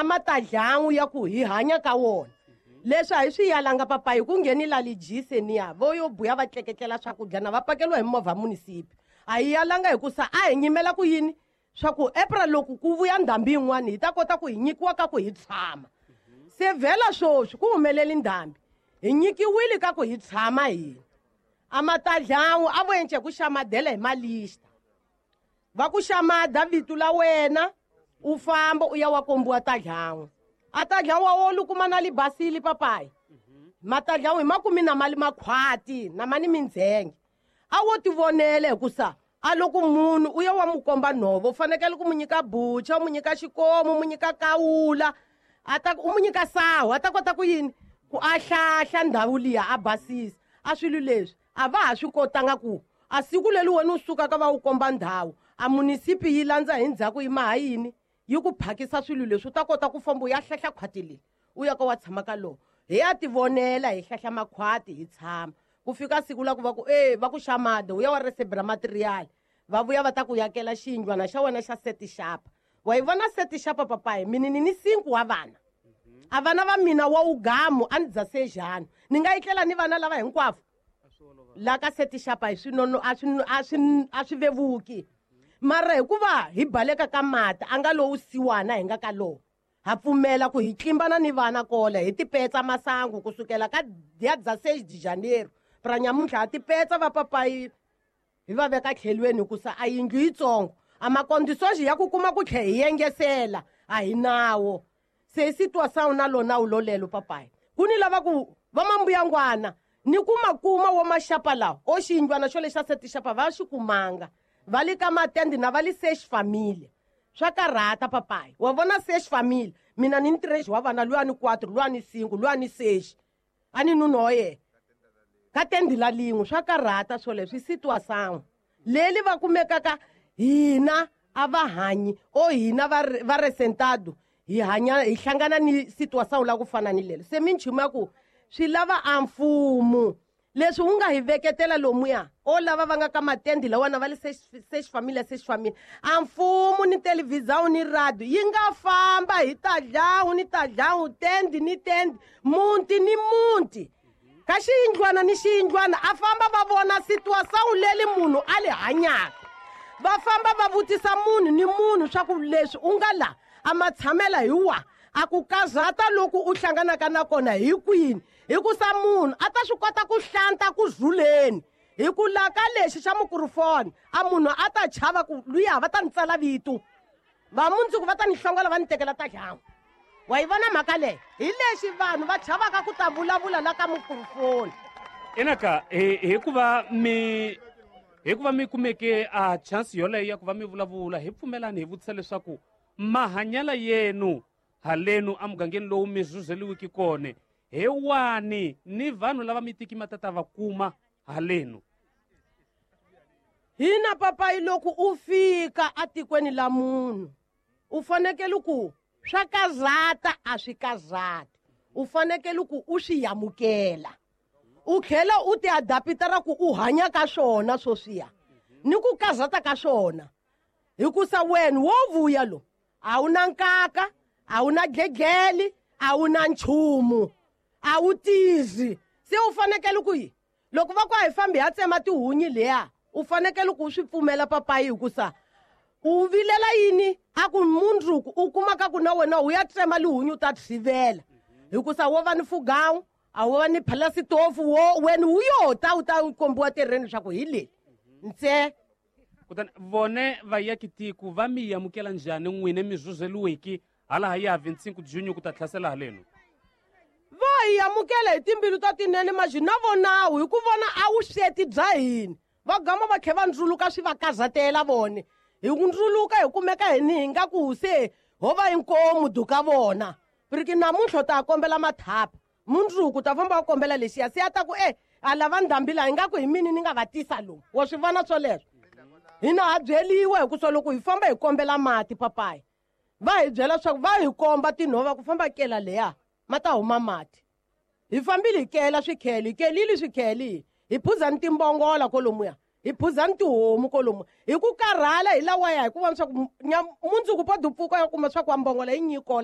A ma ta dlangu ya ku hi hanya ka wona. Leswi a hi swi yalanga papayi ku ngheni la lijise niya vo yo buya va tleketlela swakudya na va pakeliwa hi movha munisipi. A hi yalanga hikusa a hi nyimela ku yini swa ku April loko ku vuya ndhambi yin'wana hi ta kota ku hi nyikiwa ka ku hi tshama. Se vhela swoswi ku humeleli ndhambi hi nyikiwile ka ku hi tshama hina. A ma ta dlangu a vo ence ku xamadela hi malista. Va ku xamada vito la wena u famba u ya wa kombiwa tadlangu. A tadlangu wa wona u kuma na libasili papayi. Matadlangu hi makumi na mali makhwati na mani mindzhenge. A wo tivonela hikusa a loko munhu u ya wa mu komba nhova u fanekele ku mu nyika bucha, u mu nyika xikomu, u mu nyika kawula, a ta u mu nyika sahu a ta kota ku yini ku a hlahla ndhawu liya a basisa. A swilo leswi a va ha swi kotanga ku a siku leri wena u sukaka va wu komba ndhawu a munisipi yi landza hi ndzhaku yi maha yini yi ku phakisa swilo leswi u ta kota ku famba u ya hlahla khwati leri u ya ka wa tshama ka lona. Hi ya tivonela hi hlahla makhwati hi tshama ku fika siku la ku va ku e va ku xamada u ya wa resebra material va vuya va ta ku yakela xiyindlwana xa wena xa seti xapa. Wa yi vona seti xapa papayi mina ni ni 5 wa vana. A vana va mina wa ugamu a ni dza sejani ni nga etlela ni vana lava hinkwavo la ka seti xapa hi swinono a swi vevuki. Mara hikuva hi baleka ka mati a nga lowu siwana hi nga ka lowu ha pfumela ku hi tlimbana ni vana kole hi tipetsa masangu kusukela ka dia dza 6 de janeiro pra nyamuntlha ha tipetsa va papayi hi va veka tlhelweni hikusa a yindlu yitsongo a makondisoji ya ku kuma ku tlhe hi yengesela a hi nawo. Se situação na lona wu lolelo papayi ku ni lava ku va mambuyangwana ni ku makuma wo maxapa lawa o xiyindlwana xo lexa seti xapa va xi kumanga va le ka matende na va le sex familia. Swa karhata papayi wa vona sex familia mina ni ntirhexi wa vana luya ni 4 luya ni 5 luya ni 6 a ni nuna wa yena ka tende la lin'we. Swa karhata swoleswo i situação leli va kumekaka hina a va hanyi o hina va resentado hi hanya hi hlangana ni situação la ku fana ni lelo. Se minchumu ya ku swi lava a mfumo leswi wu nga hi veketela lomuya o lava va nga ka matendi lawana va le sex familia sex familia a mfumo ni televisão ni radio yi nga famba hi tadlawu ni tadlawu tendi ni tendi munti ni munti ka xiyindlwana ni xiyindlwana a famba va vona situação leli munhu a li hanyaka va famba va vutisa munhu ni munhu swa ku leswi u nga la a ma tshamela hi wa a ku kazata loko u hlanganaka na kona hi kwini hikusa munhu a ta swi kota ku hlanta ku zuleni hi ku la ka lexi xa mikrofoni a munhu a ta chava ku luya va ta ni tsala vito va mundzuku va ta ni hlongola va ni tekela ta dlangu. Wa yi vona mhaka leyi hi lexi vanhu va chavaka ku ta vulavula la ka mikrofoni. Inaka hikuva mi kumeke a chance yoleyo ya ku va mi vulavula hi pfumelani hi vutisa leswaku mahanyela yenu halenu emugangeni lowu mi zuzeliwiki kona hi wani ni vanhu lava mi tiki matata va kuma halenu. Hina papayi loko u fika atikweni la munhu u fanekele ku swa kazata a swi kazati u fanekele ku u swi yamukela u tlhela u ti adaptara ku u hanya ka swona swoswiya ni ku kazata ka swona hikusa wena wo vuya lo a wu na nkaka a wu na dledleli a wu na nchumu a wu tizi. Se u fanekele ku yi loko va ku a hi fambi ha tsema tihunyi leya u fanekele ku u swi pfumela papayi hikusa u vilela yini a ku mundzuku u kumaka ku na wena u ya tsema lihunyi u ta tshivela hikusa wo va ni fugawu a wo va ni phalasitofu wo wena wu yo ta u ta kombiwa tereni leswaku hi leli ntse. Kutani vone vayakitiko va mi amukela njhani n'wina mi zuzeliwiki hala ya 25 junho ku ta tlhasela halenu? Va hi amukela hi timbilu ta tinene maji na vonawu hi ku vona a wu sweti bya hina va gama va tlhe va ndzuluka swi va kazatela vone hi ku ndzuluka hi kumeka hi ni hi nga ku se ho va inkomu duka vona riki namuntlha u ta kombela mathapa mundzuku ta famba u kombela lexiya se a ta ku e a lava ndhambi laha hi nga ku hi mini ni nga va tisa lomu wa swi vona swoleswo. Hina ha byeliwa hikusa loko hi famba hi kombela mati papayi va hi byela leswaku va hi komba tinhova ku famba kela leya ma ta huma mati. Hi fambile hi kela swikhele hi kelile swikhele hi phuzani timbongola kolomuya hi phuzani tihomu kolomuya hi ku karhala hi lawaya hi ku vona leswaku mundzuku po dupfuka ya kuma swa ku wa mbongola yi nyikola.